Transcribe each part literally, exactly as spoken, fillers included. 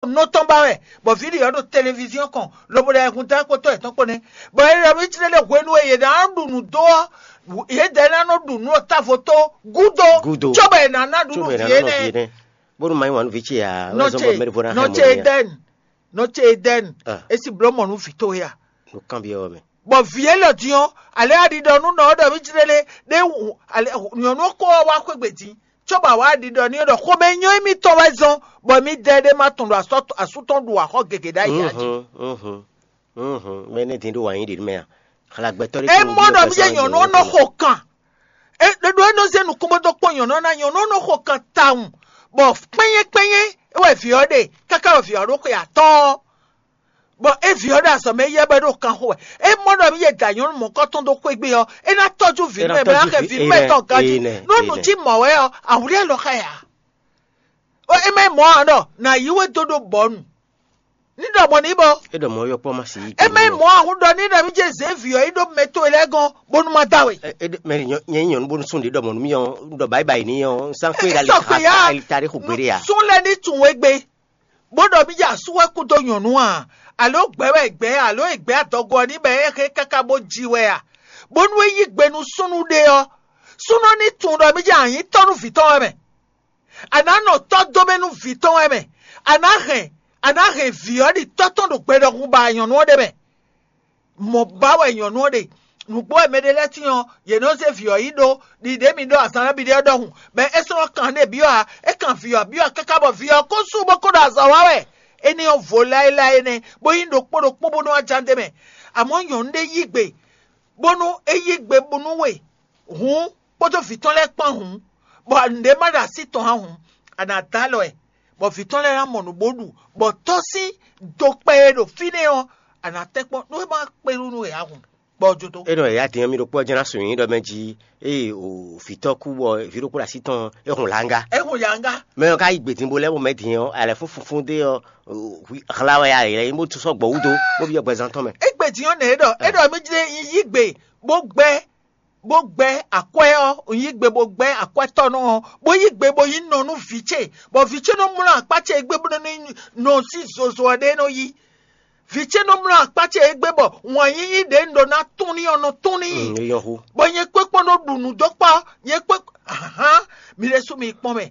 nɔ tɔn ba wɛ, bɔ vǐ ɖi ɔ́ ɖo televiziɔn kɔn lobo ɖo ayɛhun dán kpótó yětɔn kpó nɛ́. Bɔ é ɖɔ mì tlɛ ɖe hwenu e yě ná ɖu nǔ dó ɔ́, yě dɛ ná nɔ ɖu nǔ ɔ́ távo tó gúdo, Gúdo. Cóbɔ è nǎ ná ɖu nú vǐ énɛ́. Bónú ma nyí wǎn nú vǐ ce ǎ, wɛ zɔn bɔ mɛɖevo ná hɛn mɔ n'i ǎ. Nɔ ce Edɛni, Ah. É si bló mɔ nú vǐ towe a? Ɖo kanbyɔ́ ɔ́ mɛ. Bɔ vǐ élɔ́ din ɔ́, alɛ aɖiɖɔ nú nɔ ɔ́ ɖɔ mì jlé lé ɖé nyɔ̌nu ɔ́ kó ɔ́ wá xwé gbe din, cóbɔ awǎ aɖiɖɔ n'i ɖɔ xomɛ nyɔ́ émítɔn wɛ zɔn, bɔ mì dɛ ɖé ma tɔn ɖo asú tɔn ɖu axɔ́ gěgé ɖ'ayǐ jí. Mɛ énɛ́ din ɖó wǎn yí ɖě mɛ a? Xlagbɛtɔ́ ɖé. É mɔ ɖɔ mì jɛ nyɔ̌nu ɔ́ nɔ xo kan. Ɖoɖo é nɔ zé nukún bó dó kpɔ́n nyɔ̌nu ɔ́ ná, nyɔ̌nu ɔ́ nɔ xo kan tawun, bɔ kpɛ́nyɛ́ kpɛ́nyɛ́ é wɛ vǐ ɔ́ ɖe káká wɛ vǐ ɔ́ ɖo xwe atɔ́ɔ́. Bɔ é vǐ ɔ́ ɖo azɔ̌ mɛ yɛ bɔ é ɖo kan xo wɛ. É mɔ ɖɔ mì yɛ da nyɔ̌nu mɔ̌kɔ́ tɔn dó xwé gbe ɔ́, é ná tɔ́jú vǐ nú mɛ, bɔ é ná xɛ vǐ nú mɛ tɔn ganjí. Nú nǔ cí mɔ̌ wɛ ɔ́, awǔ lɛ́ lɔ xá ɛ ǎ. É má nyí mɔ̌ ǎ ɖɔ nǎ yí we dó ɖo bɔ̌nu. Ní ɖɔ mɔ̌ ní bɔ. É ɖɔ mɔ̌ yɔkpɔ́ má sì yí. É má nyí mɔ̌ ǎ hún ɖɔ ní ɖɔ mì jɛ zě vǐ ɔ́ yí ɖó mɛ towe lɛ́ɛ gɔ́n bónú má dá we. Mɛ nyɛ nyí nyɔ̌nu bónú sún ɖě ɖɔ mɔ̌ nú mì ɔ́, ɖɔ báyìí báyìí ní ɔ́, sán xwé ɖali ali ta ɖé xo gbeɖé a. Sún lɛ́ ní tunwun égbé. Bó ɖɔ mì jɛ asú wɛ kú dó nyɔ̌nu a, alo gbɛ̌ wɛ gbɛ̌, alo e gbɛ̌ adɔgo ɔ́ ní bɔ é hɛn káká bó ji wɛ a? Bónú é yí gbe nú súnnu ɖé ɔ́, súnnu ɔ́ ní tunwun ɖɔ mì jɛ anyǐ tɔ́ nú vǐ tɔn wɛ mɛ. A nǎ nɔ tɔ́ dó mɛ nú vǐ tɔn wɛ mɛ. A nǎ hɛn, a nǎ hɛn vǐ ɔ́ ɖi tɔ́ tɔn ɖo gbɛ ɖɔhun ba nyɔ̌nu ɔ́ ɖe mɛ. Mɔ̌ ba wɛ nyɔ̌nu ɔ́ ɖe. Nǔgbó wɛ mɛɖé lɛ́ɛ tíin ɔ́, yě nɔ zé vǐ ɔ́ yi ɖó ɖiɖě mi ɖó azǎn ná biɖé ɔ́ ɖɔhun, bɔ é sɔ́ nɔ kan nú byɔ́ ǎ. É kan vǐ ɔ́ byɔ́ káká bɔ vǐ ɔ́ ko sú bó ko ɖo azɔ̌ wa wɛ. Énɛ́ ɔ́ vo láéláé énɛ́, bó nyí ɖokpó ɖokpó bónú wá ján d'é mɛ. Amɔ̌ nyɔ̌nu ɖé yí gbe, bónú é yí gbe bónú we hǔn, kpódó vǐ tɔn lɛ́ɛ kpán hǔn, bɔ nǔɖé má ɖo así tɔn ǎ hǔn, a nǎ dó alɔ ɛ, bɔ vǐ tɔn lɛ́ɛ ná mɔ nǔ bó ɖu, bɔ tɔ́ sín dokpɛ e ɖo fínɛ́ ɔ́, a nǎ tɛ́nkpɔ́n nú é má kpé nú nú è ǎ hǔn, bɔ jo dó. É nɔ yǎ din ɔ́, mì ɖokpó ɔ́ jɛ́n ná sun nyǐ ɖɔ mɛ jí ée o vǐ tɔ́ kú bɔ vǐ ɖokpó ɖo así tɔn ɔ́, é hun lǎnga. É hun lǎnga. Mɛ ɔ́ ka yi gbědínbó lɛ́ɛ bɔ mɛ din ɔ́, alɛ fúnfún dé ɔ́, hla wɛ ya yě bó sɔ́ gbɔ wú dó bó byɔ́ gbɛzán tɔn mɛ. É gbě din ɔ́ nɛ̌ ɖɔ é ɖɔ mì jlé yí gbe bó gbɛ́ bó gbɛ́ akwɛ́ ɔ́, un yí gbe bó gbɛ́ akwɛ́tɔ́nɔ ɔ́, bó yí gbe bó nyí nɔ nú vǐ ce, bɔ vǐ ce nɔ mlɔ́ akpá ce égbé bó nɔ nɔ sín zozo ɔ́ ɖé nɔ yí. Vǐ ce nɔ mlɔ́ akpá ce égbé bɔ wǎn yíyí ɖě un ɖó ná tún n'i ɔ́ nɔ tún n'i. Bɔ nyɛ kpé kpɔ́n nɔ ɖu nǔ dó kpá, nyɛ kpé ahan, mi ɖésú mi kpɔ́n mɛ.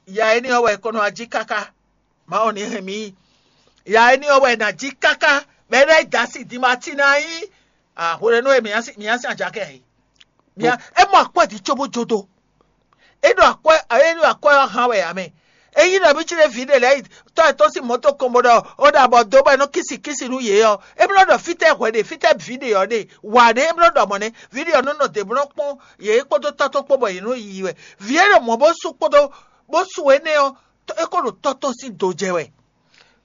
Ya énɛ́ ɔ́ wɛ è ko nɔ wá jí káká. Mawu ní hɛn mì. Ya énɛ́ ɔ́ wɛ è nǎ jí káká, bɔ é ná yi dǎ asi din ma cí ná nyí. Hwenɛ́nu e mǐ ná sin ajakɛ ǎ é. É mɔ akwɛ́ din cóbó jó dó. É ɖo akwɛ́ é ɖo akwɛ́ ɔ́ hán wɛ ǎ mɛ. Ényí nɔ mì cí ɖé vǐ ɖé lɛ́ɛ yi tɔ́ ɛ tɔ́ sín mɔ̌ tɔn kɔn bó ɖɔ ó ɖo abɔ dó bɔ é nɔ kísi kísi nú yě ɔ́, é bló ɖɔ fítɛ́ hwɛ ɖe, fítɛ́ vǐ ɖe ɔ́ ɖe, wǎ ɖé é bló ɖɔ mɔ̌ nɛ́. Vǐ ɖe ɔ́ nɔ nɔ dě bó nɔ kpɔ́n yě kpódó tɔ́ tɔn kpó bɔ yě nɔ yiyi wɛ. Vǐ e ɖo mɔ̌ bó sú kpódó bó sú énɛ́ ɔ́, é ko ɖo tɔ́ tɔn sín do jɛ wɛ.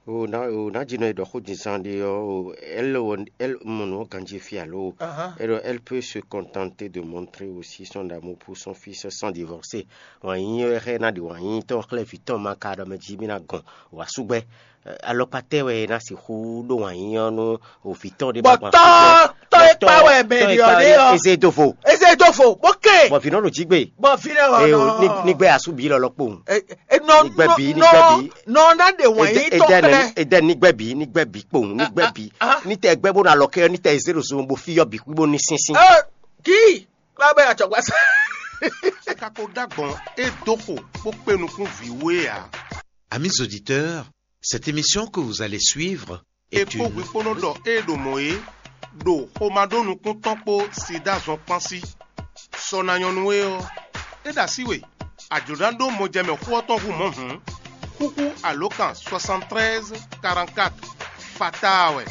O ná o ná jí nɔ e ɖɔ xó din zán ɖé ɔ́, o ɛ́l wɔ ɛ́l mɔ nǔ ɔ́ ganjí fí alo. É ɖɔ elle peut se contenter de montrer aussi son amour pour son fils sans divorcer. Wǎn yíyí wɛ xɛ ná ɖi wǎn yíyí tɔn xlɛ́ vǐ tɔn ma ka ɖɔ mɛ jí mì ná gɔn wǎ súgbɛ́. Alɔkpa tɛ́ wɛ é ná sixú ɖó wǎn yíyí ɔ́ nú òvǐ tɔn ɖé bɔ tɔ́ tɔ́ e kpa wɛ mɛ ɖi ɔ́ ɖé ɔ́, eze do vo. Eze do vo bó kɛ. Bɔ vǐ nɔ ɖo jí gbe. Bɔ vǐ nɔ ɔ́ nɔ. Ní gbɛ asú bǐ lɔlɔ kpowun. Ní gbɛ bǐ, ní gbɛ bǐ. Nɔ ná ɖe wǎn yí tɔn xlɛ́. Edɛ ní gbɛ bǐ, ní gbɛ bǐ kpowun, ní gbɛ bǐ. Ní tɛ gbɛ bó ná lɔ kɛ, ní tɛ zé ɖo zun bó fí yɔ bǐ kú bó ní sínsín. Kí lábẹ́ àjọ̀gbá sá. Kako dá gbɔn é dó xo bó kpé nukún vǐ wú é ǎ. Amis auditeurs, cette émission que vous allez suivre est une. È kpó hwi kpó nɔ ɖɔ ée ɖo mɔ̌ é, ɖo xomá ɖó nukún tɔn kpó sida zɔn kpán sí. Sɔ ná nyɔ́ nú é ɔ́, é ɖo así we, a jlǒ ná ɖó mɔjɛmɛ xó ɔ́ tɔn hú mɔ̌ hǔn, xúxú alǒkan soixante-treize quarante-quatre fataa wɛ,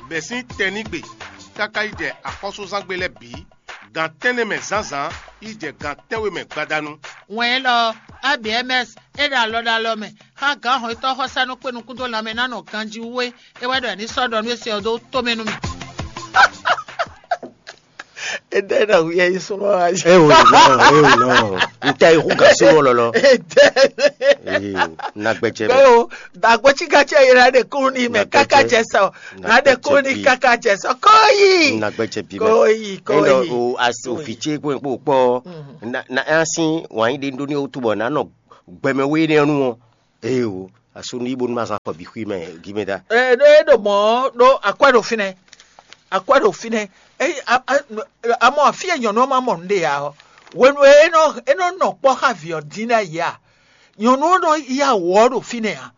bɛ̌ sín tɛnígbe káká yi jɛ axɔ́súzángbe lɛ́ɛ bǐ, gan tɛ́nnɛ mɛ zǎnzǎn yi jɛ gan tɛ́nwe mɛ gbadanu. Wɛn élɔ́ ɔ́, A B M S é ɖo alɔ ɖo alɔ mɛ xá gǎn hɔn e tɔ́ xɔ́sá nɔ kpé nukún dó lanmɛ ná nɔ ganjí wú é, é wɛ ɖɔ è ní sɔ́ ɖɔ nú é se ɔ́ dó tomɛ nú mì. Edɛ na hu yɛ yi súnmọ́ wa. Ewò nɔ, ewò nɔ. N tɛ ihu gã súnmọ́ lɔlɔ. Edɛ. Ee, nagbɛjɛ bɛ. Bẹ́ẹ̀ o, dàgbọ́chígàchí ẹ̀yẹ rẹ̀ á dẹ̀ kúrú ní mẹ́ káká jẹ sọ. Rẹ̀ á dẹ̀ kúrú ní káká jẹ sọ. Kóyì. Nagbɛjɛ bí mɛ. Kóyì, kóyì. Eno o asi o fitse kpó kpó kpɔ. Na na asi wànyí de ndo ní o túbọ̀ nánɔ gbɛmɛ wé ní ọnu wọn. Ee o. Asú ní bónú ma zán afɔ bǐ xwí mɛ gímɛdá. Ɛ ɖó é ɖo mɔ̌ ɖó akwɛ́ ɖo fínɛ́, akwɛ́ ɖo fínɛ́. Amɔ afí e nyɔ̌nu ɔ́ ma mɔ nǔɖé ǎ ɔ́, hwenu e é nɔ é nɔ nɔ kpɔ́ xá vǐ ɔ́ dín ɖ'ayǐ a, nyɔ̌nu ɔ́ nɔ yá wǔ ɔ́ ɖo fínɛ́ ǎ.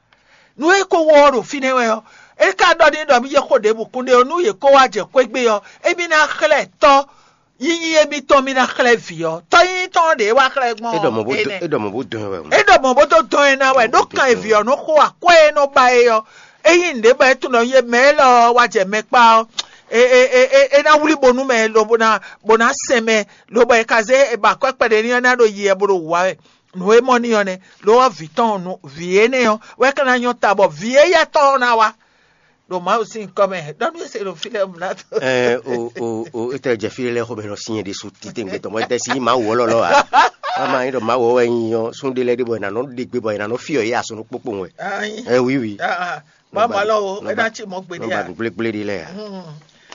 Nú é ko wɔ ɔ́ ɖo fínɛ́ wɛ ɔ́, é ka ɖɔ n'i ɖɔ mì yi xo ɖěbǔ kún ɖe ɔ́, nú yě ko wá jɛ xwé gbe ɔ́, émí ná xlɛ́ tɔ́ yíyí émítɔn mì ná xlɛ́ vǐ ɔ́. Tɔ́ yíyí tɔn ɖě wá xlɛ́ gbɔn é ɖɔ mɔ̌ bó dɔn é wɛ. É ɖɔ mɔ̌ bó dɔn ɛ wɛ. É ɖɔ mɔ̌ bó dó dɔn ɛ ná wɛ, ɖó kan e vǐ ɔ́ nɔ xo akwɛ́ e nɔ ba é ɔ́, é nyí nǔɖé bɔ é tunɔ yé mɛ élɔ́ ɔ́ wá jɛ mɛ kpá ɔ́, é é é é é ná wlí bónú mɛ lobo ná bó ná sɛn mɛ, lobɔ è ka zé è ba akwɛ́ kpɛɖé n'i ɔ́ ná ɖo yi wɛ bó ɖo wǔ wá wɛ. Nǔ e mɔ n'i ɔ́ nɛ́, lo ɔ́ vǐ tɔn ɔ́ nú vǐ énɛ́ ɔ́ wɛ ka ná nyɔ́ ta bɔ vǐ éyɛ́ tɔn ɔ́ ná wá ɖo Mawu sín nyǐkɔ mɛ. Ɖɔ nú é se ɖo fí lɛ́ɛ mlá tó. Ɛ o o o etɛ jɛ fí lɛ́ɛ xɔmɛ nɔ sin yɛ ɖésú titewungbe tɔn bɔ etɛ si nyí Mawu ɔlɔlɔ a. Ama nyí ɖɔ Mawu wɛ nyi ɔ́, sún ɖé lɛ́ɛ ɖé bɔ è nǎ nɔ ɖe gbe bɔ è nǎ nɔ fyɔ yě asɔnɔ kpókpó wɛ. Ɛ wi wi. Baba lɔ o, é ná ci mɔ gbe ní a. Nɔba gblégblé ɖi lɛ a.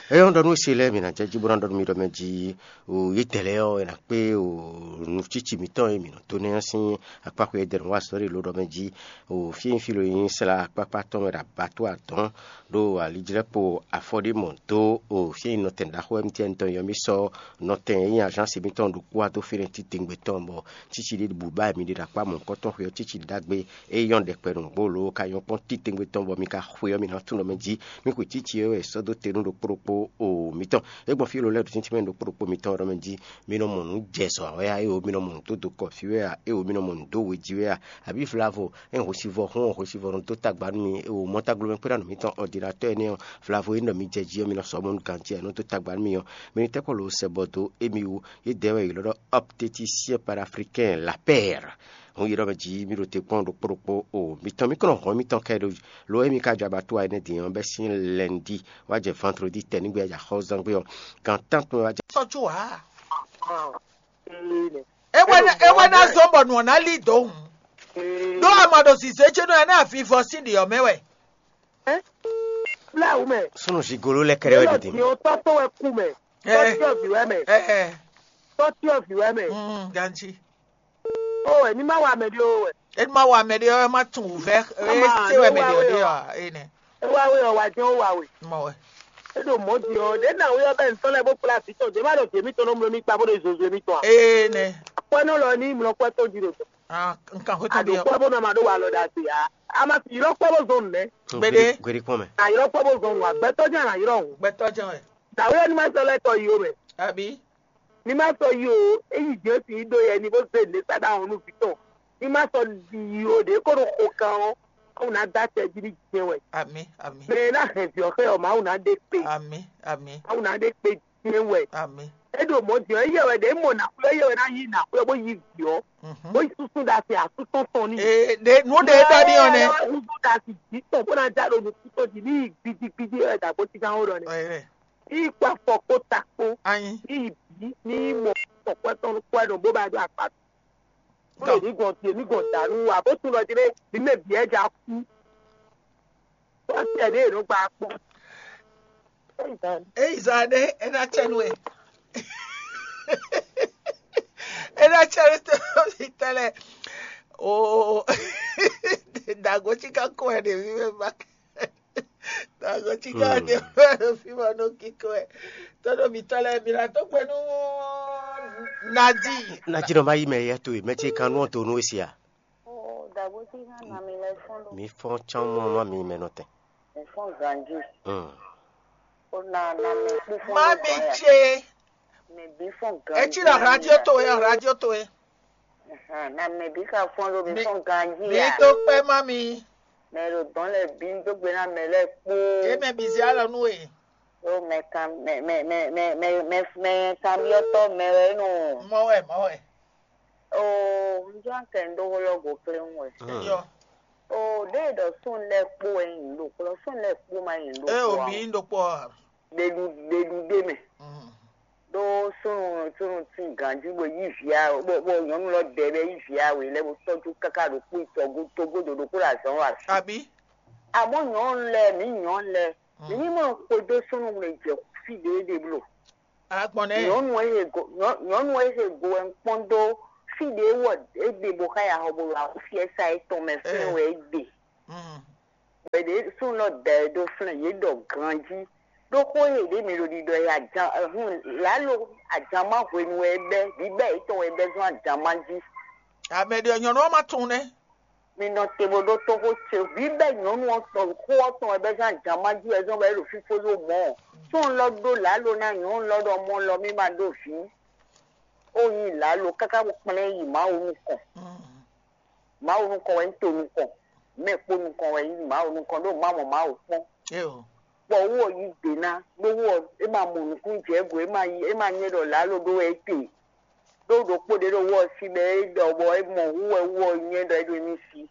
Eyɔn ɖɔ nú se lɛ mi na jɛ jí bó ná ɖɔ nú mi ɖɔ mɛ jí o yi tɛlɛ ɔ, ena kpé o nu tsitsi mitɔn e mi nɔ to nɛ sín akpákpé e dɛnu wá sɔrí lo ɖɔ mɛ jí o fi fi lo yin sla akpákpá tɔn mɛ ɖo abató atɔn ɖo alijlɛkpo afɔɖimɔ dó o fi nɔtɛn ɖaxó M T N tɔn yɔ mi sɔ nɔtɛn e yin agence mitɔn ɖo kpó ato fínɛ titengbe tɔn bɔ tsitsi ɖé bu ba mi ɖe ɖo akpá mɔ̌kɔtɔn xwe ɔ́ tsitsi ɖagbe e yɔn ɖɛkpɛ nǔgbó lo ka nyɔ́ kpɔ́n titengbe tɔn bɔ mi ka xwe ɔ́ mi ná tunɔ mɛ jí. Mi xwe tsitsi e wɛ sɔ́ dó te nú ɖokpó ɖokpó o mitɔn. É gbɔn fí lo lɛ́ɛ ɖo tíntín mɛ ɖokpó ɖokpó mitɔn ɖɔ mɛ jí. Mi nɔ mɔ nǔ jɛ zɔ wɛ a, éwo mi nɔ mɔ nǔ dó dokɔ fí wɛ a, éwo mi nɔ mɔ nǔ dó we jí wɛ a, abǐ vlavo é hwesivɔ́ hún ɔ́, hwesivɔ́ nɔ dó tagba nú mi, éwo mɔ́ táglo mɛ kpé ɖo nǔ mitɔn ɔdinatɔ́ énɛ́ ɔ́, vlavo é nɔ mi jɛ jí ɔ́, mi nɔ sɔ́ mɔ nú ganjí ɛ nɔ dó tagba nú mi ɔ́, mi ní tɛ́ kɔ lo sɛ bɔ dó émi wú. Yědɛɛ wɛ yě lɔ́ ɖɔ obstétricien panafricain la paire. Hun yi ɖɔ mɛ jí mi ɖo te kpɔ́n ɖokpó ɖokpó o. Mi tɔn mi kɔnɔ hɔn mi tɔn kɛ ɖo lo émi ka jɔ abattoir énɛ́ din ɔ́ bɛ́ sín lundi wá jɛ vendredi tɛnigbe wá jɛ axɔ́zangbe ɔ́ gan tántɔn wá jɛ. Sɔ́ có wá. Ewé ná zɔ́n bɔ nǔ ɔ́ ná lí dǒ hǔn. Ɖó a ma ɖo zǐzé ce nɔ ɛ ná vivɔ sín ɖi ɔ́ mɛ wɛ. Fúláwù mɛ. Súnnu zigolo lɛ kɛrɛ wɛ ɖo din. Yóò tɔ́ tó wɛ kú mɛ. Tɔ́tíɔ vǐ wɛ mɛ. Tɔ́tíɔ vǐ wɛ mɛ. Ganji. Ó wɛ ní má wa mɛ ɖé ó wɛ. Eni ma wa mɛ ɖé ɔ́, é má tunwun wǔvɛ́ é se wɛ mɛ ɖě ɔ́ ɖé ɔ́ énɛ́. É wá wé ɔ́, wá jɛ́n ó wa we. Mɔ wɛ. É ɖo mɔ̌ din ɔ́, ɖě ná wé ɔ́ bɛ́ ntɔ́ lɛ́ɛ bó kplá vǐ tɔn, ɖě má ɖɔ vǐ émítɔn nɔ mló mì kpa bó ɖo zozo émítɔn ǎ. Énɛ́. Akwɛ́nɔ lɔ ní mlɔ kwɛ́ tɔn jí ɖo tɔn. Nkan xwé tɔn ɖé ɔ́. Àɖòkpɔ́ bó nɔ ma ɖó wa lɔ ɖagbe ǎ. A ma sì ylɔ́ kpɔ́ bó zɔn nǔ nɛ́. Gbéɖé. Gbéɖé kpɔ́n mɛ. Àylɔ́ kpɔ́ bó zɔn nǔ ǎ, gbɛtɔ́ jɛ́n àylɔ́ hǔn. Gbɛtɔ́ jɛ́n wɛ. Dǎwe ɔ́ ní má sɔ́ lɛ́ tɔ yi ó mɛ. Àbí? Ní má sɔ́ yi ó, é yi jǐ ó sì yi ɖó yɛ ní bó zé nǔɖé sá ɖó ahɔn nú vǐ tɔn. Ní má sɔ́ yi ó ɖě kó ɖo xo kan ɔ́, Mawu ná dó acɛ jí ní jɛ́n wɛ. Àmín, àmín. Mɛ e ná hɛn vǐ ɔ́ xɛ ɔ́, Mawu ná ɖe kpe. Àmín, àmín. Mawu ná ɖe kpe jɛ́n wɛ. Àmín. É ɖo mɔ̌ din ɔ́, éyɛ́ wɛ ɖě mɔ nǎxwé, éyɛ́ wɛ ná yí nǎxwé ɔ́ bó yí vǐ ɔ́, bó yi súsú ɖa sin asú tɔn tɔn n'i. Ee, ɖe nǔ ɖe e ɖɔ n'i ɔ́ nɛ́. Húzú ɖa sin jǐ tɔn bó ná já ɖo nukún tɔn jí ní yi gbidigbidi wɛ dǎgbó cíkan ó ɖɔ nɛ́. Ní yi kpó afɔ kpó ta kpó. Anyi. Ní yi bǐ ní yi mɔ tɔkwɛ tɔn kpó ɛnɔ bó ba ɖó akpa. Bó ɖo mǐ gɔn din, mǐ gɔn dǎnú ǎ, bó tunwun ɖɔ jí ɖé mǐ mɛ bǐ wɛ ja kú. Bó sɛ ɖě è nɔ gba kpɔ́n. Eyi zan ɖé, é ná cɛ nú ɛ. É ná cɛ nú tɛlɛ. Oo, dàgó cí ká kó ɛ ɖe mí mɛ ba. Dàgó cí ká ɖe mí mɛ ɖo fí ma nɔ kíkó ɛ. Tɔ́ ɖo mǐtɔn lɛ́ɛ, mǐ ná dó gbe nú Nadi. Nadi nɔ ma yí mɛ yɛ to e mɛ ce kan nú ɔ́ to nú e sia. Oo, dàgó cí ká nà mí lɛ fún ɖo. Mǐ fɔ́n cán mɔ má mi mɛ nɔtɛn. Mǐ fɔ́n ganjí. Hmm. Ó na na mɛ kpú fún Má mi ce. Mɛ bí fɔ́n ganjí. Etí ɖo radio towe, radio towe. Ahan, na mɛ bí ka fɔ́n ɖo mí fɔ́n ganjí. Mí tó kpɛ́ má mi. Mɛ ɖo dɔn lɛ bí dó gbe na mɛ lɛ kpó. Eme bí zé alɔ nú we. Ó mɛ kan mɛ mɛ mɛ mɛ mɛ mɛ mɛ kanbyɔ́tɔ́ mɛ wɛ nɔ. Mɔ wɛ, mɔ wɛ. Oo, un jɔ kɛ un ɖó xó lɔ go kléwún wɛ. Yɔ. Oo, ɖe ɖɔ sún lɛ kpó wɛ nyi ɖo kplɔ, sún lɛ kpó ma nyi ɖo kplɔ. E o bí ɖo kpɔ. Ɖeɖu ɖeɖu ɖe mɛ. Ɖó súnnu súnnu tín ganjí bó yí vǐ a bó bó nyɔ̌nu lɔ dɛ bɛ yí vǐ a wě lɛ́ bó tɔ́jú káká ɖo kpó tɔgó tógó ɖo ɖokpó ɖo azɔ̌ wa. Àbí? Àmọ́ nyɔ̌nu lɛ́ɛ mǐ nyɔ̌nu lɛ́ɛ mǐ ní mɔ xwedó súnnu wle jɛ fí ɖě ɖe bló. Agbɔn nɛ. Nyɔ̌nu e he go nyɔ̌- nyɔ̌nu e he go wɛ un kpɔ́n dó fí ɖě wɔ é gbe bó xá ya xɔ bó ɖo awúfiɛ́sá étɔn mɛ fɛ́n wɛ é gbe. Bɔ yě ɖe súnnu lɔ da ɛ ɖó flɛ́n, yě ɖɔ ganjí. Ɖó xó e ɖě mi ɖo ɖiɖɔ e ajan hun lǎlo ajan má hwenu wɛ é bɛ́, bǐbɛ́ yětɔn wɛ é bɛ́ zɔn ajan má jí. Amɛ ɖe nyɔ̌nu ɔ́ ma tunwun nɛ́. Mi nɔ te bó ɖó tóxó ce, bǐbɛ́ nyɔ̌nu ɔ́ tɔn xó ɔ́ tɔn wɛ bɛ́ zɔn ajan má jí wɛ zɔn bɔ é ɖo fífó ɖó mɔ̌. Súnnu lɔ ɖó lǎlo ná nyɔ̌nu lɔ ɖɔ mɔ lɔ mí ma ɖó vǐ. Ó nyí lǎlo káká bó kplɛ́n yi Mawu nukɔn. Mawu nukɔn wɛ nyí to nukɔn, mɛ kpo nukɔn wɛ nyí Mawu nukɔn ɖó má mɔ Mawu kpɔ́n. Bɔ wú ɔ yí gbe ná, ɖó wú ɔ é ma mɔ nukún jɛ go, é ma yí é ma nyɛ ɖɔ lǎlo ɖó wɛ é te. Ɖó ɖokpó ɖé ɖo wú ɔ sí bɔ é ɖɔ bɔ é mɔ wú wɛ wú ɔ nyɛ ɖɔ é ɖo émí sí.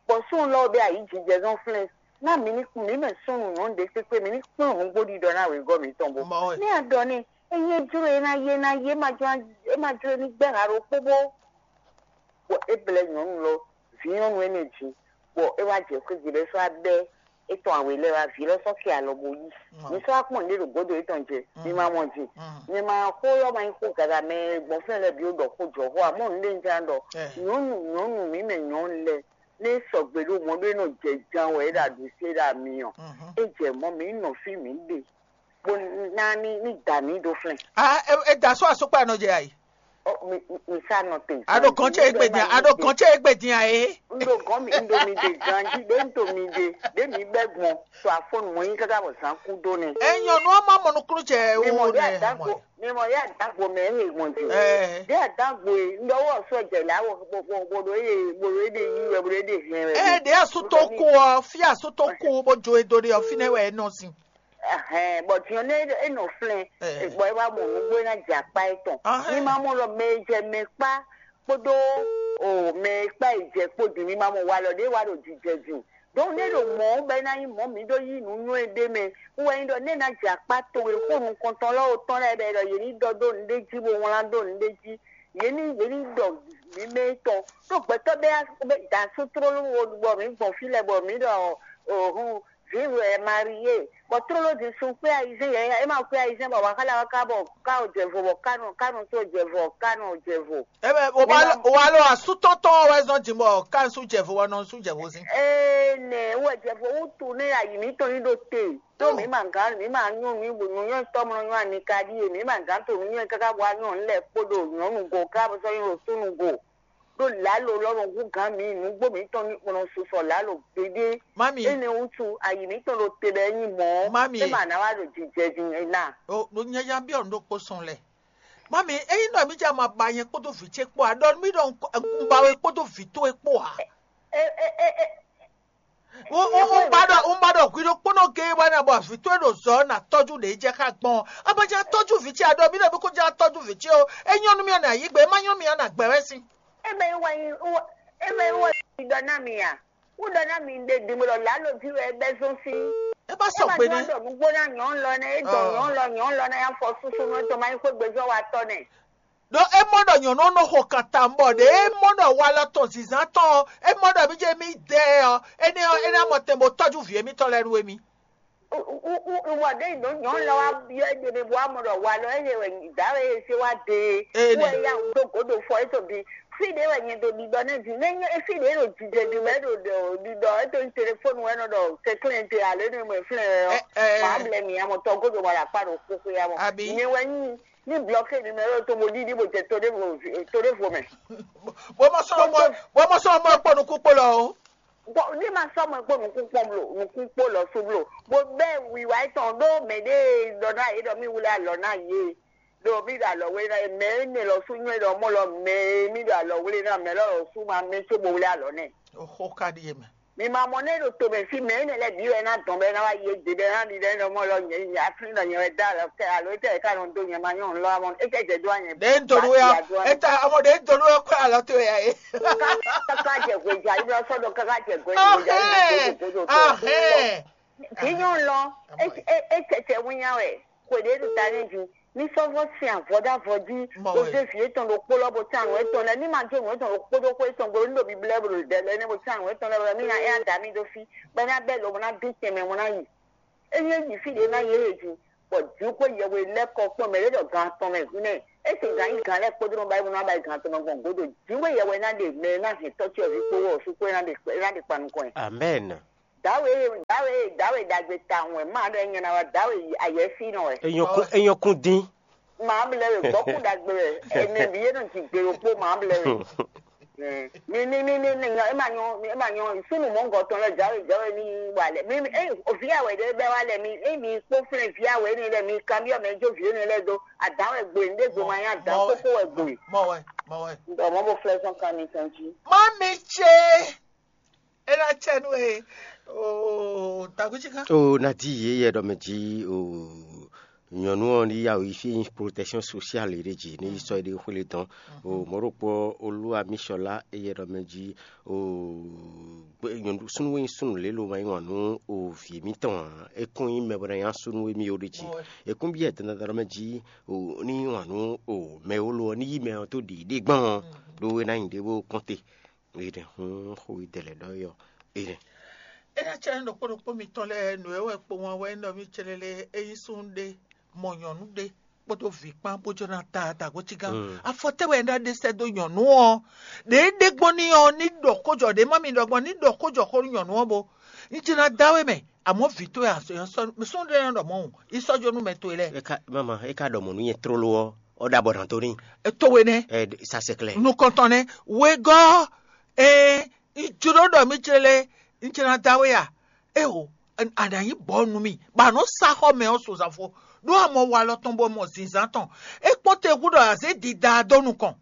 Bɔ súnnu lɔ ɔ́ ɖe ayǐjijɛ zɔn flɛ́n ná mǐ ní mǐ mɛ súnnu nyɔ̌nu ɖé kpékpé mǐ ní kplɔ́n nǔgbó ɖiɖɔ ná wěgɔ́ mǐtɔn bó. Ní a ɖɔ n'i, ényí é jló e ná yé ná yé é ma jló é ní gbɛ́ ha ɖokpó bó. Bɔ é blɛ́ nyɔ̌nu lɔ vǐ nyɔ̌nu énɛ́ jí, bɔ é wá jɛ xwé gbe lɛ́ɛ sɔ́ wá bɛ́ étɔn awě lɛ́ɛ wá vǐ lɔ sɔ́ kɛ alɔ bó yí. Mi sɔ́ wá kpɔ́n nǔɖé ɖo gǒdo yětɔn jɛ, mi ma mɔ ji. Mi ma xó ɔ́ ma nyí xó gaga mɛ gbɔn fínɛ́ lɛ́ɛ bǐ ó ɖɔ xó jɔ xó ǎ, mɔ nǔɖé un ján ɖɔ nyɔ̌nu nyɔ̌nu mǐ mɛ nyɔ̌nu lɛ́ɛ ní sɔgbe ɖo mɔ̌ ɖó é nɔ jɛ jan wɛ é ɖo aɖǔ sé ɖo ami ɔ́, é jɛ mɔ̌ mǐ nɔ fí mǐ ɖe. Bó ná ní ní da mǐ ɖó flɛ́n. Ah, e, e da só asokpa nɔ jɛ ayi. Ɔ, mi mi- mi sa nɔ te. Aɖo gɔn ce egbe dia, aɖo gɔn ce egbe dia e. N ɖo gɔn mi n ɖo mi de ganji ɖe n to mi de ɖe mi bɛ gbɔn to afɔnu mɔ yin kaka bɔ zan ku do nɛ. Enyɔ nu ama mɔ nukunu cɛ mi mɔ wo ɖe nɛ. Adagbo mi mɔ ɖe adagbo mɛ ɛ gbɔn ji. Ɛ. Ɖe adagbo ye n ɖɔ wɔ sɔ jɛ la wɔ bo bo bo ɖo ye bo ɖo ye de yi wɛ bo ɖo ye de hɛn wɛ. Ɛ ɖe asu to ku ɔ fi asu to ku bo jo edo ɖe ɔ fi nɛ wɛ e nɔ sin. Ɛhɛn, bɔ din ɔ́, nɛ́ é nɔ flɛ́n, bɔ é wá mɔ nǔgbó é ná jɛ akpá étɔn. Ní má mɔ lɔ mɛ e jɛ mɛ kpá kpódó o mɛ e kpá yi jɛ kpó din ní má mɔ walɔ ɖé wá ɖo jijɛ din. Dɔnku nɛ́ ɖo mɔ̌ bɔ é ná nyí mɔ̌ mǐ ɖó yí nǔ nywɛ́ ɖé mɛ, wú wɛ nyí ɖɔ nɛ́ ná jɛ akpá towe xó nukɔntɔn lɛ́ɛ otɔn lɛ́ɛ bɔ è ɖɔ yě ní ɖɔ dó nǔɖé jí bó wlán dó nǔɖé jí, yě ní yě ní ɖɔ mǐ mɛ tɔn. Ɖó gbɛtɔ́ bɛ́ da sú tlóló wo bɔ mǐ gbɔn fí lɛ́ɛ bɔ mǐ ɖɔ òhun vǐ wɛ Marie, bɔ tlóló din sun kpé ayizɛ́n yɛ̌yɛ́, é ma kpé ayizɛ́n bɔ wǎ xá lɛ wá ká bɔ ká ò jɛ vo bɔ ká nɔ ká nɔ tó jɛ vo ká nɔ jɛ vo. Ebe o wa lo o wa lo asútɔ́tɔ́ wɛ zɔn jǐ bɔ ká ń sú jɛ vo wɛ nɔ sú jɛ vo sín. Ee nɛ wɛ jɛ vo wútu nɛ ayi mǐtɔn ní ɖo te. Tó mǐ ma gán mǐ ma nyɔ́ nǔ nǔnywɛ́ tɔ́mlɔ nyɔ́ anika ɖíe mǐ ma gán to nǔnywɛ́ káká bɔ anyɔ́ ńlẹ̀ kpódó nyɔ̌nu go ká bɔ sɔ́ nyɔ́ ɖo súnnu go. Ɖó lǎlo lɔ́ nɔ hú gǎn mǐ nǔgbó mǐtɔn ní kplɔ́n susɔ lǎlo gbeɖé. Mami. Énɛ́ wútu ayi mǐtɔn ɖo te bɔ é nyí mɔ̌. Mami. É ma ná wá ɖo jijɛ din ná. O ɖo nyanya byɔ́ nǔ ɖokpó sɔn lɛ. Mami, ényí nɔ mí jɛ ma ba nyɛ kpódó vǐ ce kpó ǎ, ɖɔ nú mí ɖɔ un ba we kpódó vǐ towe kpó ǎ. E e e e Un un un ba ɖɔ un ba ɖɔ hwi ɖokpónɔ géé wɛ nɛ bɔ vǐ towe ɖo zɔ ɔ́ nǎ tɔ́jú ɖě jɛ xá gbɔn. A ma jɛ tɔ́jú vǐ ce a ɖɔ mí ɖɔ mí kó jɛ tɔ́jú vǐ ce ó. É nyɔ́ nú mì ɔ́ nǎ yí gbe, é má nyɔ́ nú mì ɔ́ nǎ gbɛ wɛ sín. Ebe wɔ yi wɔ ebe wɔ yi ɖɔ ná mi a? Wú ɖɔ ná mi ɖe dǐn bó ɖɔ lǎlo ví wɛ é bɛ́ zɔ́n sín. É bá sɔ gbe nɛ́. Ɖɔ nǔgbó ná nyɔ̌nu lɔ nɛ́, é dɔn nyɔ̌nu lɔ nyɔ̌nu lɔ nɛ́ afɔ súsú nú é tɔn má nyí xwé gbezɔ́ wa tɔ́ nɛ́. Ɖó é mɔ ɖɔ nyɔ̌nu ɔ́ nɔ xo kanta bɔ ɖě é mɔ ɖɔ walɔ tɔn zǐnzán tɔn ɔ́, é mɔ ɖɔ mí jɛ mí dɛ ɔ́, énɛ́ ɔ́, é ná mɔ tɛn bó tɔ́jú vǐ émítɔn lɛ́ɛ nú émí. Wɔ ɖé yi ɖǒ nyɔ̌nu lɔ wá byɔ́ é ɖe bó wá mɔ ɖɔ walɔ é yɛ wɛ dǎwe e sé wá de é wɛ ya ɖó gǒdo fɔ é to bi. Fí ɖé wɛ nyɛ ɖo ɖiɖɔ nɛ́ din, nɛ́ nyɛ fí ɖé ɖo jijɛ din wɛ ɖo ɖiɖɔ é to nyí telefónu wɛ nɔ ɖɔ kɛnklɛ́n te alo é nɔ mɔ flɛ́n ɛ ɔ́, wǎ blɛ́ mì amɔtɔ gǒdo mɔ ɖo akpá ɖo xóxó ya mɔ. Nyɛ wɛ nyí ní blɔké numéro to bo ɖiɖi bo jɛ to ɖévo to ɖévo mɛ. Bó mɔ sɔn mɔ bó mɔ sɔn mɔ kpɔ nukún kpó lɔ o. Bɔ ní ma sɔ́ mɔ kpó nukún kpɔ́n blo nukún kpó lɔ sú blo bó bɛ́ wiwa étɔn ɖó mɛ ɖé ɖɔ ná yě ɖɔ mí wlé alɔ ná yě ɖo mí ɖo alɔ wé ná mɛ énɛ́ lɔ sú nyɔ́ ɖɔ mɔ lɔ mɛ mí ɖo alɔ wlé ná mɛ lɔ lɔ sú ma mɛ có bo wlé alɔ nɛ. Oxó ka ɖíe mɛ. Mi ma mɔ nɛ ɖo to mɛ fí mɛ énɛ́ lɛ́ɛ bǐ wɛ ná dɔn bɛ ná wá yí égbé bɛ ná ɖi ɖɛ nɔ mɔ lɔ nyɛ nyɛ aflín nɔ nyɛ wɛ dá alɔ kɛ alo étɛ ká nɔ dó nyɛ ma nyɔ ŋlɔ amɔ étɛ jɛ dó anyɛ. Ɖe ń donu ya étɛ amɔ ɖe ń donu ya kó alɔ tó ya é. Kaka jɛ hwe ja ibi sɔ dɔ kaka jɛ hwe ja ibi sɔ dɔ tó. Kì í nyɔ lɔ étɛ wínya wɛ kò ɖe ɖo ta ní ju. Ní sɔ́ vɔ́ sin avɔ̌ dó avɔ jí, bó zé vǐ étɔn ɖokpó lɔ bó tán nǔ étɔn lɛ́ɛ, ní ma jó nǔ étɔn ɖokpó ɖokpó étɔn gbe ní ɖo biblɛ́ bó ɖo ɖɛ lɛ́ɛ ní bó tán nǔ étɔn lɛ́ɛ bó ná é á da mì ɖó fí, bɔ é ná bɛ́ lobo ná bí tɛnmɛ bó ná yi. É nyí yi fí ɖě ná yě he jí, bɔ jǐxwé yɛhwe lɛ́ kɔ kpɔ́n mɛ ɖé ɖɔ gan atɔn mɛ hwínɛ́, É sì gǎn nyí gǎn lɛ́ɛ kpódó nɔ ba é nɔ ba gǎn tɔn nɔ gbɔn gǒdo. Jǐwe yɛ wɛ ná ɖe mɛ ná hɛn tɔ́ ce ɔ́ ví kpó wɔ sú kpó ná ɖe ná ɖe kpa nukɔn ɛ. Amen. Dǎwe dǎwe dǎwe ɖagbe tawun wɛ má ɖɔ nyɛ ná wá dǎwe ayɛfínɔ wɛ. Enyɔkun enyɔkun dín. Má blɛ wɛ gbɔkú ɖagbe wɛ. Ɛnɛ bí yé nɔ jigbe ɖokpó má blɛ wɛ. Mi mi mi mi mi nyɔ ema nyɔ ema nyɔ sunu mɔngɔ tɔn lɛ jawe jawe mi wa lɛ mi mi eh ovi awɛ ɖe bɛ wa lɛ mi eh mi kpó flɛ vi awɛ ni lɛ mi kamiɔ mɛ jo vi ni lɛ do adan wɛ gbe ne do ma nya dan koko wɛ gbe. Mɔ wɛ, mɔ wɛ. Ɔ mɔ bo flɛ sɔn kan mi tɔn ji. Má mi ce. É ná cɛ nú e. Oo, takutsika. O nadi ye yɛ ɖɔ mɛ ji o nyɔnu ɔ́ ní ya yi fí nyí protection sociale ɖé jí ní sɔ ɖe xwlé dɔn. O mɔɖokpɔ olúwa mísɔlá eyɛ ɖɔ mɛ jí o súnú e nyí súnú lélo ma nyí wǎn nú o vǐ mítɔn ǎ. É kún nyí mɛ bɔ ná nyí súnú émí ó ɖe jí. É kún byɔ́ dandandan ɖɔ mɛ jí o ní nyí wǎn nú o mɛ wolo ɔ́ ní yí mɛ ɔ́ tó ɖiɖí gbɔn ɔ́ ɖó é ná nyi ɖě bó kɔn te. Énɛ́ hún xó yi dɛ lɛ́ ɖɔ yɔ énɛ́. É ná cɛ ɖokpó ɖokpó mitɔn lɛ́ɛ nǔ e wɛ kpo wan wɛ nɔ mì célélé é nyí súnnu ɖé mɔ nyɔ̌nu ɖé kpódó vǐ kpán bó jɔ ná ta dǎgócígán. Afɔ tɛ́ wɛ é ná ɖe sɛ́ dó nyɔ̌nu ɔ́? Ɖě é ɖe gbɔn n'i ɔ́ ní ɖɔ xójɔ ɖě má mi ɖɔ gbɔn ní ɖɔ xójɔ xó nú nyɔ̌nu ɔ́ bo. Un jɛ ná dá we mɛ, amɔ̌ vǐ towe a súnnu ɖé ná ɖɔ mɔ̌ hǔn, yi sɔ́ jó nú mɛ towe lɛ́ɛ. É ka mama é ka ɖɔ mɔ̌ nú nyɛ tlóló ɔ́, ɔ́ ɖo abɔ nǎ dó n'i. Towe nɛ́. Ɛ sasɛklɛ. Nukɔntɔn nɛ́. Wegɔ́, ɛ un jló ɖɔ mì jlé lé un jlá dá we a? Éeǒ, a nǎ nyí bɔ̌ nú mì, bɔ a nǔ sa xɔ mɛ ɔ́ sozafo, ɖó a mɔ walɔ tɔn bɔ mɔ zǐnzán tɔn. É kpɔ́n te hú ɖɔ a zě dida dó nukɔn,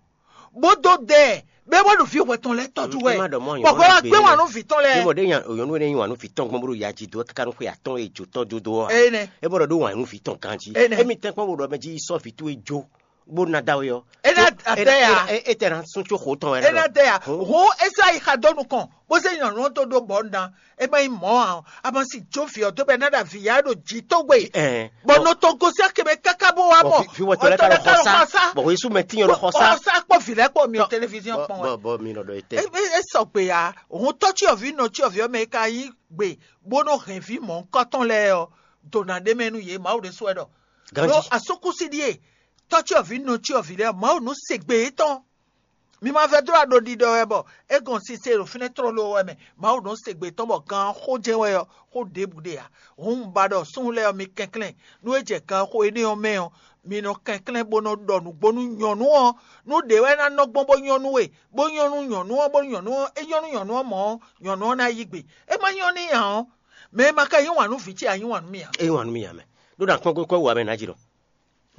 bó dó dɛ ɛ, bɔ é wá ɖo vǐ hwɛ tɔn lɛ́ɛ tɔ́jú wɛ. Bɔ hwɛ wá gbé wǎn nú vǐ tɔn lɛ́ɛ. Mɔ ɖé nyɔ̌nu énɛ́ nyi wǎn nú vǐ tɔn gbɔn bó ɖo ya jí dó káká nú xwe atɔ́ɔ́n e jǒ tɔn jó dó ɔ́. Énɛ́. É bɔ ɖɔ ɖó wǎn nú vǐ tɔn ganjí. Énɛ́. Émi tɛ́nkpɔ́n wo ɖɔ mɛ jí yi sɔ́ vǐ towe jó bó ná da we ɔ́. É ná adɛ ya. É tɛ ná sún tso xo tɔn wɛ. É ná adɛ ya. Hǔn Esau yi xa dó nukɔn, bó zé nyɔ̌nu ɔ́ dó ɖó bɔ̌ ná. É má nyí mɔ̌ ǎ, a ma si jó vǐ ɔ́ dó bɔ é ná ɖo avǐ ya ɖo jǐ tógbe. Ɛn. Bɔ nɔ tɔn gosín akɛ mɛ káká bó wá mɔ. Fi wɔ tɔlɛ ká lɔ xɔ sá. Bɔ Yesu mɛ tínyɔ lɔ xɔ sá. Xɔ sá kpɔ vǐ lɛ́ kpɔ mi ò téléviziɔn kpɔn wɛ. Bɔ mi nɔ ɖɔ etɛ. É sɔgbe ya, òun tɔ́ cyɔvǐ nɔ cyɔvǐ ɔ́ mɛ e ka nyí gbe bó nɔ hɛn vǐ mɔ̌hunkɔtɔn lɛ́ɛ ɔ́, dǒ ná ɖ'é mɛ nú yě, Mawu ɖésú wɛ ɖɔ. Ganjí. Ɖó asúkúsi ɖíe, tɔ́ cyɔvǐ nɔ cyɔvǐ lɛ́ɛ, Mawu nǔ se gbe yětɔn. Mi ma vɛdó aɖo ɖiɖɔ wɛ bɔ é gɔn sise ɖo fínɛ́ tlóló wɛ mɛ. Mawu nɔ se gbe tɔn bɔ gan xó jɛ́n wɛ ɔ́, xó ɖěbǔ ɖe ǎ. Hǔn un ba ɖɔ súnnu lɛ́ɛ ɔ́, mi kɛnklɛ́n, nú é jɛ ganxó énɛ́ ɔ́ mɛ ɔ́, mi nɔ kɛnklɛ́n bó nɔ ɖɔ nǔgbó nú nyɔ̌nu ɔ́, nú ɖě wɛ ná nɔ gbɔn bó nyɔ́ nú we, bó nyɔ́ nú nyɔ̌nu ɔ́, bónú nyɔ̌nu ɔ́, é nyɔ́ nú nyɔ̌nu ɔ́ mɔ̌ ɔ́, nyɔ̌nu ɔ́ ná yí gbe. É ma nyɔ́ n'i ǎ ɔ́, mɛ e ma ka yí wǎn nú vǐ ce ǎ, yí wǎn nú mì ǎ. É wǎn nú mì ǎ mɛ. Ɖó ɖo akpɔ́n kɔ́ wá mɛ ná jí ɖɔ.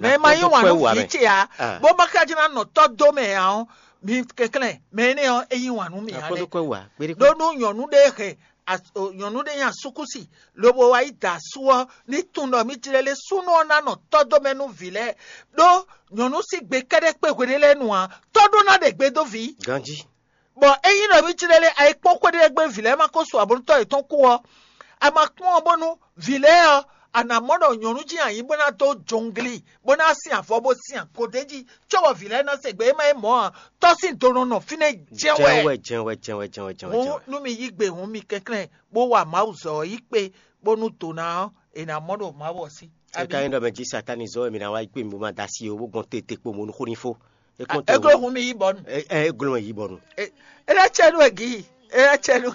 Mɛ e ma yí wǎn nú vǐ ce ǎ, bó ma ka jí ná nɔ tɔ́ dó mɛ ǎ ɔ́, mi kɛnklɛ́n, mɛ énɛ́ ɔ́, é yí wǎn nú mì ǎ lɛ́ɛ. Ɖó nú nyɔ̌nu ɖé hɛn nyɔ̌nu ɖé nyi asúkúsi, lobo wá yi da asú ɔ́, ní tunwun ɖɔ mì jlɛ́ lé súnnu ɔ́ ná nɔ tɔ́ dó mɛ nú vǐ lɛ́ɛ, ɖó nyɔ̌nu sín gbe kɛ́ɖɛ́ kpé hweɖé lɛ́ɛ nu ǎ, tɔ́ ɖó ná ɖe gbe dó vǐ. Ganjí. Bɔ ényí ɖɔ mì jlɛ́ lé ayikpɔ́n xwé ɖé gbe vǐ lɛ́ɛ ma ko su abɔ̌nutɔ́ yětɔn kú ɔ́, a ma kpɔ́n ɔ́ bónú vǐ lɛ́ɛ ɔ́, a nǎ mɔ ɖɔ nyɔ̌nu jí ayǐ bó ná dó jɔngli, bó ná sin avɔ bó sin agodéji, cóbɔ vǐ lɛ́ɛ ná se gbe. É má nyí mɔ̌ ǎ, tɔ́ sín do nɔ nɔ fínɛ́ jɛ́n wɛ. Jɛ́n wɛ, jɛ́n wɛ, jɛ́n wɛ, jɛ́n wɛ, jɛ́n wɛ, jɛ́n Hǔn wɛ. Nú mi yí gbe hǔn mi kɛnklɛ́n, bó wa Mawu zɔ ɔ́ yí kpé, bónú do ná ɔ́, è nǎ mɔ ɖo Mawu ɔ́ sí. É ka nyí ɖɔ mɛ jí Satáni zɔ́n wɛ mi ná wá yí kpé mi bó ma da sí ó, bó gbɔn te te kpo mo nú xó ní fó. É kpɔ́n te. É gló hun mi yí bɔnu. É é gló mɛ yí bɔnu. É é lɛ́ cɛ nú egi. É lɛ́ cɛ nú.